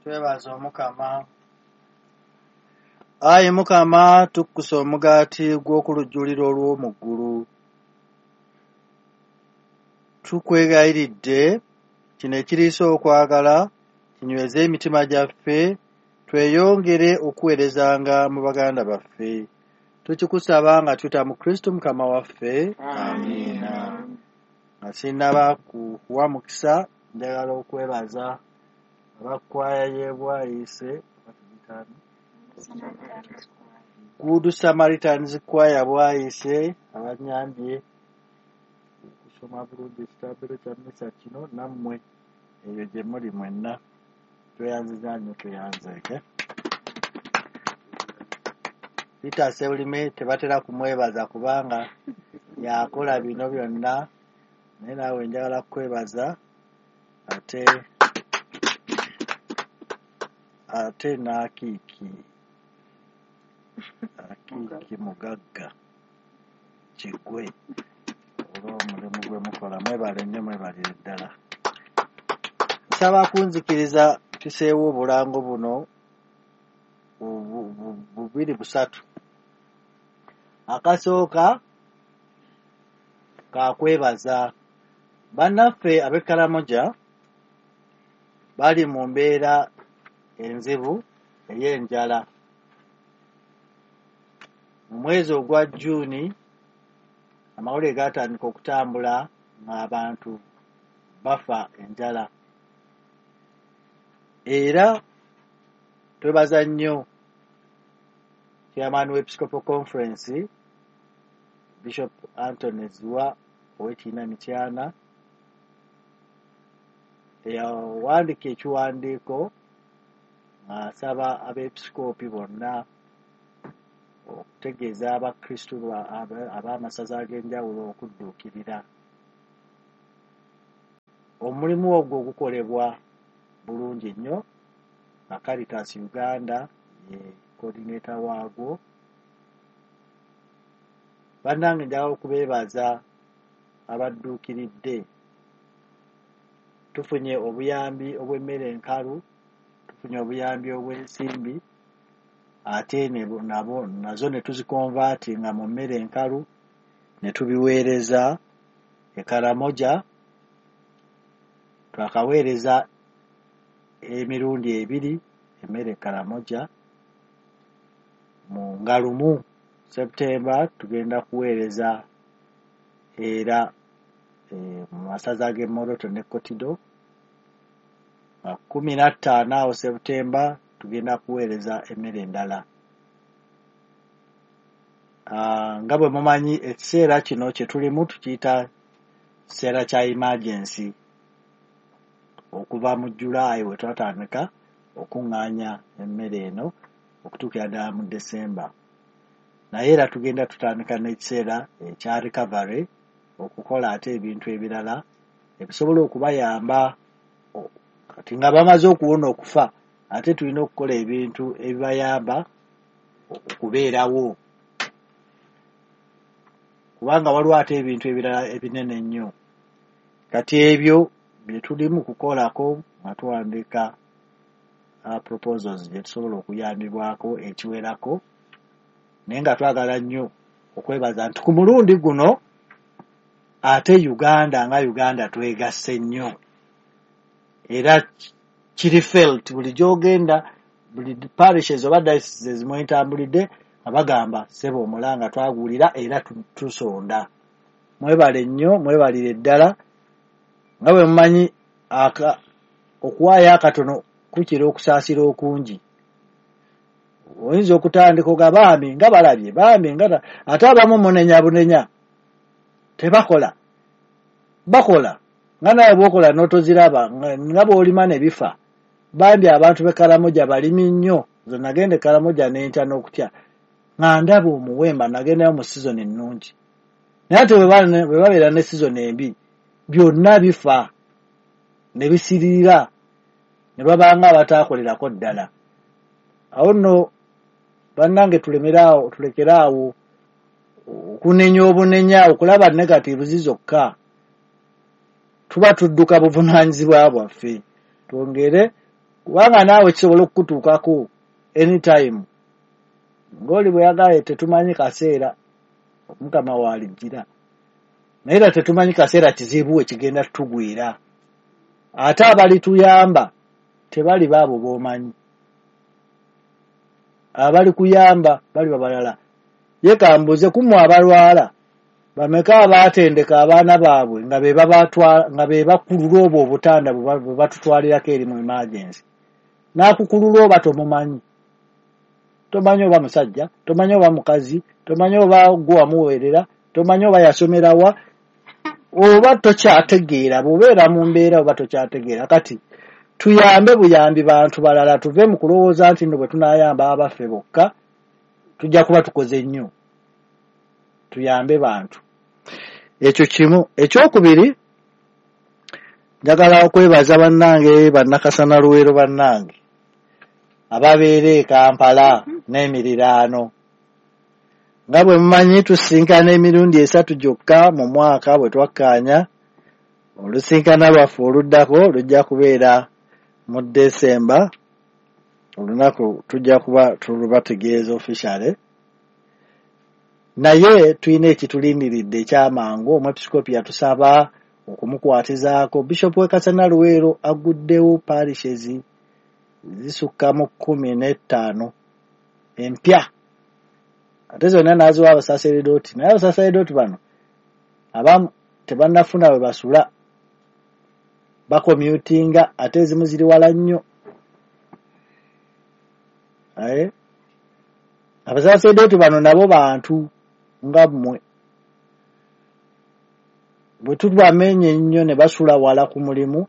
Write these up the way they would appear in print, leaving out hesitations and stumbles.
Twebaza Omukama. Ayi Mukama, tukkusa omugaati gw'okulujjuliro olw'omu ggulu. Tukwegayiridde kino ekiriisa okwagala kinyweze emitima gyaffe, tweyongere okuweerezanga mu baganda baffe. Tukikusaba nga tuyita mu Kristo Mukama waffe. Amiina. Nga sinnaba kuwa mukisa, njagala okwebaza abakkwaya y'e Bwayiise, Good Samaritans Choir Bwayiise, abanyambye okusoma bulungi ekitambiro kya mmisa kino, nammwe eyo gye muli mwenna. Tweyanziza nnyo, tweyanzeeke. Peter Ssebulime tebatera kumwebaza kubanga yakola bino byonna, naye naawe njagala kukwebaza. Ate n'Akiiki, Akiiki Mugagga Kigwe, olw'omulimu gwe mukola. Mwebale nnyo, mwebalire ddala. Nsaba kunzikiriza tuseewo obulango buno bubiri busatu. Akasooka kakwebaza bannaffe ab'e Karamoja bali mu mbeera enzibu ey'enjala. Mu mwezi ogwa Jjuuni amawulire gaatandika okutambula ng'abantu bafa enjala. Era twebaza nnyo Chairman w'Episcopal Conference Bishop Anthony Zziwa ow'ekiina Mityana eyawandiika ekiwandiiko ng'asaba abeepisikoopi bonna okutegeeza abakristu ab'amasaza ag'enjawulo okudduukirira. Omulimu ogwo gukolebwa bulungi nnyo nga Caritas Uganda ye coordinator waagwo. Bannange njagala okubeebaza abadduukiridde. Tufunye obuyambi obw'emmere enkalu, tufunye obuyambi obw'ensimbi, ate nabo nazo ne tuzikonvaatinga mu mmere enkalu ne tubiweereza e Karamoja. Twakaweereza emirundi ebiri emmere e Karamoja. Mu nga lumu September tugenda kuweereza era mu masaza g'e Moroto ne Kotido. Nga 15 awo September tugenda kuweereza emmere endala. Nga bwe mumanyi ekiseera kino kye tulimu tukiyita kiseera kya emergency. Okuva mu July we twatandika okuŋŋaanya emmere eno okutuukira ddala mu December. Naye era tugenda tutandika n'ekiseera ekya recovery okukola ate ebintu ebirala ebisobola okubayamba. Kati nga bamaze okuwona okufa, ate tulina okukola ebintu ebibayamba okubeerawo, kubanga waliwo ate ebintu ebirala ebinene ennyo. Kati ebyo bye tulimu kukolako nga tuwandiika proposals gye tusobola okuyambibwako ekiwerako, naye nga twagala nnyo okwebaza nti ku mulundi guno ate Uganda nga Uganda twegasse nnyo, era kiri felt buli gy'ogenda, buli parishes oba dioceses mwentambulidde nga bagamba ssebo omulanga twaguwulira era tusonda. Mwebale nnyo, mwebalire ddala. Nga bwe mumanyi okuwaayo akatono kukira okusaasira okungi. Oyinza okutandika oga bambi nga balabye, bambi nga ate abamu munenya bunenya tebakola, bakola nga nawe bw'okola n'otoziraba nga bw'olima ne bifa. Bambi abantu b'e Karamoja balimi nnyo. Nze nagenda e Karamoja n'entya n'okutya nga ndaba omuwemba, nagendayo mu sizoni ennungi, naye ate bwe babeera ne sizoni embi byonna bifa ne bisiririra ne babanga abataakolerako ddala. Awo nno bannange tulemeraawo, tulekeraawo okunenya obunenya, okulaba negatives zokka. Tuba tudduka buvunaanyizibwa bwaffe, twongere Kubanga naawe kisobola okukutuukako anytime. Ng'oli bwe yagambye tetumanyi kaseera Omukama w'alijjira. Naye era tetumanyi kaseera kizibu we kigenda tutugwira. Ate abalituyamba tebali baabo b'omanyi. Abalikuyamba baliba balala. Ye kambuuze ku mmwe abalwala bameka abaatendeka abaana baabwe nga be babatwala nga be bakulula obwo obutanda bwe batutwalirako eri mu emergency. N'akukulula oba tomumanyi. Tomanyi oba musajja, tomanyi oba mukazi, tomanyi oba gwe wamuweerera, tomanyi oba yasomera wa, oba tokyategeera, bw'obeera mu mbeera oba tokyategeera. Kati tuyambe buyambi bantu balala, tuve mu kulowooza nti nno bwe tunaayamba abaffe bokka tujja kuba tukoze nnyo. Tuyambe bantu. Ekyo kimu. Ekyokubiri, njagala okwebaza bannange bannakasana Luweero bannange ababeera e Kampala n'emiriraano. Nga bwe mumanyi tusisinkana emirundi 3 gyokka mu mwaka bwe twakkaanya. Olusinkana lwaffe oluddako lujja kubeera mu Desemba, olunaku tujja kuba tulubategeeza officially. Naye tulina ekitulindiridde ekyamangu. Omwepiskopi yatusaba okumukwatizaako. Bishop w'e Kasana Luweero aguddewo parishes zisukka mu 15 empya, ate zonna n'aziwa abasaseredooti. Naye abasaseredooti bano abamu tebannafuna we basula, bakomyutinga, ate ezimu ziri wala nnyo. Aye abasaseredooti bano nabo bantu nga mmwe, bwe tubamenya ennyo ne basula wala ku mulimu,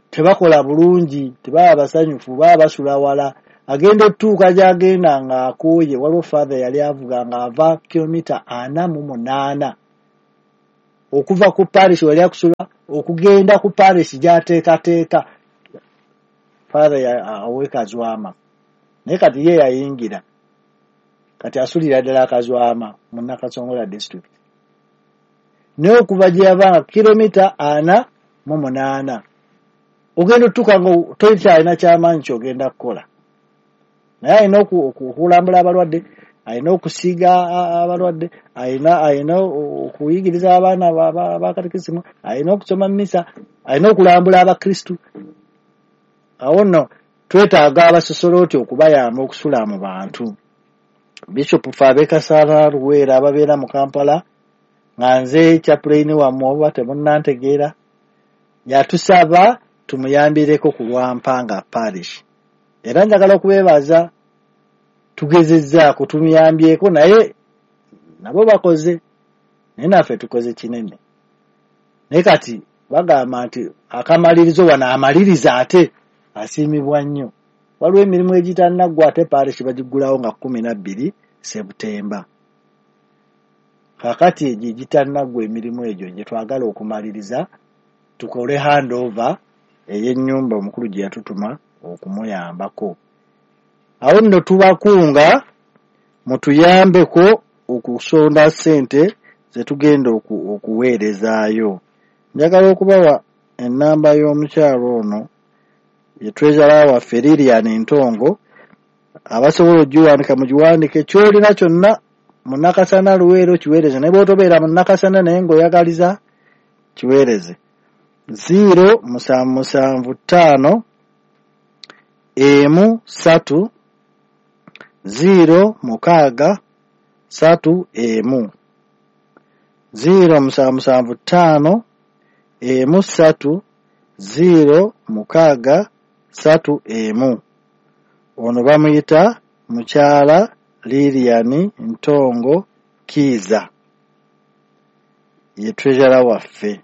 tebakola bulungi, tebaba basanyufu, baba basula wala. Agenda otuuka gy'agenda ng'akooye. Waliwo father yali avuga ng'ava kilomita 48 okuva ku parish wali akusula okugenda ku parish gy'ateekateeka. Father awe Kazwama, naye kati ye yayingira, kati asulira ddala Kazwama mu Nakasongola district. Naye okuva gye yavanga kilomita 48, ogenda otuuka nga tokyalina kyamaanyi ky'ogenda kukola. Naye alina okulambula abalwadde, alina okusiiga abalwadde, alina okuyigiriza abaana ba katekisimu, alina okusoma mmisa, alina okulambula abakristu. Awo nno twetaaga abasosolooti okubayamba okusula mu bantu. Bishop ffe ab'e Kasana Luweero ababeera mu Kampala, nga nze chaplain wammwe oba temunnantegeera, yatusaba tumuyambireko ku Lwampanga parish. Era njagala okubeebaza, tugezezzaako, tumuyambyeko, naye nabo bakoze, naye naffe tukoze kinene. Naye kati bagamba nti akamalirizo wano amaliriza ate asiimibwa nnyo. Waliwo emirimu egitannaggwa ate parish bagiggulawo nga 12 Sebutemba. Kaakati egyo egitannaggwa emirimu egyo gye twagala okumaliriza, tukole handover ey'ennyumba omukulu gye yatutuma okumuyambako. Awo nno tubakunga mutuyambeko okusonda ssente ze tugenda okuweerezaayo. Njagala okubawa ennamba y'omukyalo ono ye treasurer waffe Lilian Ntongo. Abasobola ogiwandika mugiwandike, ky'olina kyonna mu Nakasana Luweero kiweereze, naye bw'otobeera mu Nakasana naye ng'oyagaliza kiweereze. 0 7 7 5 1 3 0 6 3 1 0 7 7 5 1 3 0 6 3 1. Ono bamuyita mukyala Lilian Ntongo Kiiza, ye treasurer waffe.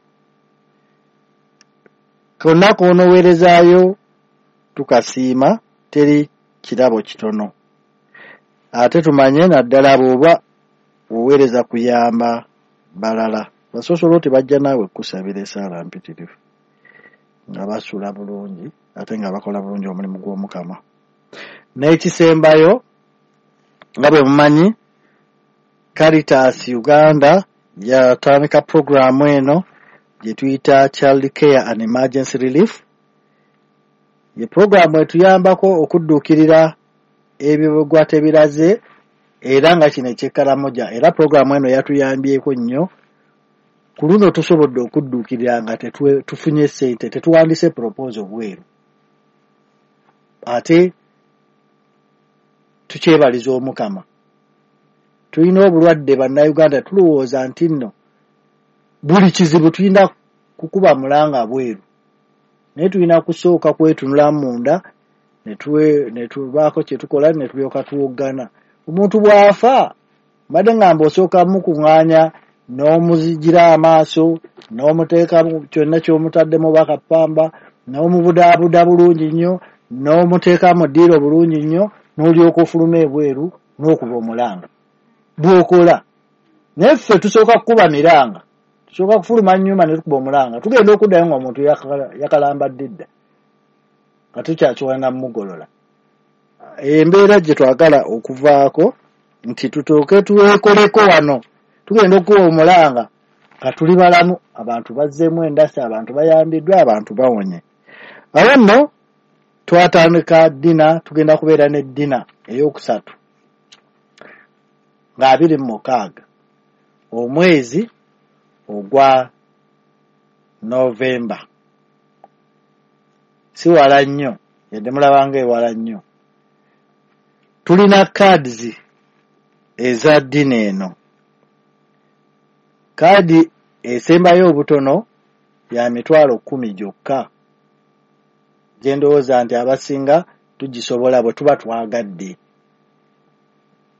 Konna k'onoweerezaayo tukasiima, teri kirabo kitono. Ate tumanye naddala bw'oba oweereza kuyamba balala. Basosoloti bajja naawe kukusabira essaala mpitirivu, nga basula bulungi ate nga bakola bulungi omulimu gw'Omukama. N'ekisembayo, nga bwe mumanyi, Caritas Uganda yatandika puroguraamu eno gye tuyita Child Care and Emergency Relief. Ye puroguramu etuyambako okudduukirira ebibugwa tebiraze, era nga kino eky'e Karamoja, era puroguramu eno yatuyambyeko nnyo. Ku luno tusobodde okudduukirira nga tufunye ssente, tetuwandiise proposal bweru, ate tukyebaliza Omukama. Tulina obulwadde Bannayuganda, tulowooza nti nno buli kizibu tulina kukuba mulanga bweru, naye tulina kusooka kwetunula munda ne tubaako kye tukola ne tulyoka tuwoggana. Omuntu bw'afa, mbadde ngamba osooka mukuŋŋaanya n'omuzigira amaaso n'omuteeka kyonna ky'omutaddemu bakapamba n'omubudaabuda bulungi nnyo n'omuteeka mu ddiiro bulungi nnyo n'olyoka ofuluma ebweru n'okuba omulanga bw'okola. Naye ffe tusooka kukuba miranga, tusooka kufuluma nnyumba ne tukuba omulanga, tugenda okuddayo ng'omuntu yakalambadde dda nga tukyakiwana mugolola. Embeera gye twagala okuvaako nti tutooke twekoleko wano, tugenda okukuba omulanga nga tuli balamu, abantu bazzeemu endasi, abantu bayambiddwa, abantu bawonye. Awo nno twatandika dinner, tugenda kubeera ne dinner eyokusatu nga 26 omwezi ogwa Novemba. Si wala nnyo, yadde mulabanga ewala nnyo. Tulina cards eza dinner eno. Kaadi esembayo obutono ya 10,000 gyokka, gye ndowooza nti abasinga tugisobola bwe tuba twagadde.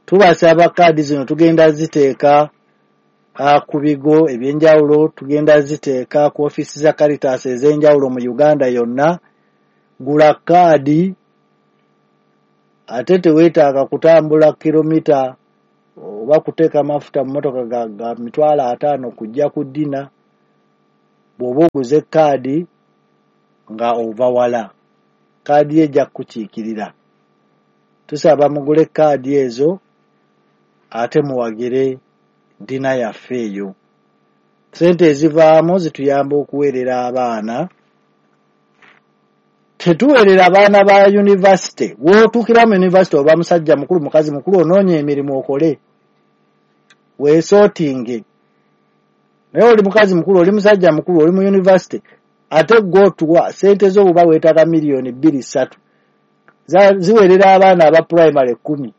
Tubasaba kaadi zino tugenda ziteeka ku bigo ebyenjawulo, tugenda ziteeka ku ofiisi za Caritas ez'enjawulo mu Uganda yonna. Gula kaadi, ate teweetaaga kutambula kilomita oba kuteeka mafuta mu mmotoka ga 50,000 kujja ku dinner. Bw'oba oguze kaadi nga ova wala, kaadi ye ejja kukukiikirira. Tusaba mugule kaadi ezo ate muwagire dinner yaffe eyo. Ssente ezivaamu zituyamba okuweerera abaana. Tetuweerera abaana ba yunivasite. W'otuukira mu yunivasite oba musajja mukulu, mukazi mukulu, onoonya emirimu okole, weesootinge. Naye oli mukazi mukulu, oli musajja mukulu, oli mu yunivasite, ate gwe otuwa ssente zo oba weetaaga 2 miliyoni 3 ziweerera abaana aba pulayimale 10.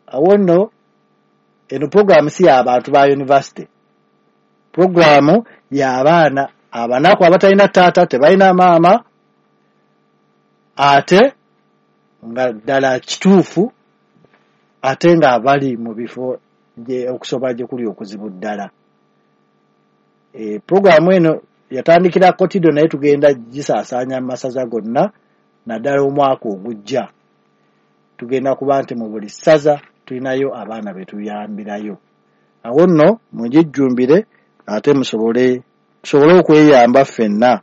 Awo nno eno puroguramu si y'abantu ba yunivasite, puroguramu y'abaana abanaku abatalina taata, tebalina maama, ate nga ddala kituufu, ate nga bali mu bifo okusoma gye kuli okuzibu ddala. Puroguramu eno yatandikira Kotido, naye tugenda gisaasaanya mu masaza gonna, naddala omwaka ogujja tugenda kuba nti mu buli ssaza tulinayo abaana be tuyambirayo. Awo nno mugijjumbire ate tusobole okweyamba ffenna.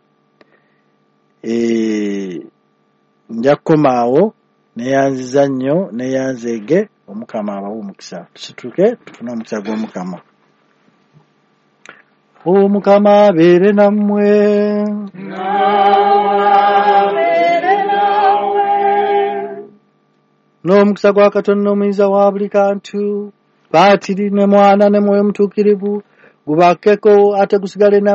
Nja kukomaawo, neeyanziza nnyo, neeyanzeege. Omukama abawe omukisa. Tusituke tufune omukisa gw'Omukama. Omukama abeere nammwe. Abeere naawe. N'omukisa gwa Katonda omuyinza wa buli kantu, Patiri ne Mwana ne Mwoyo Mutuukirivu, gubakkeko ate gusigale nammwe.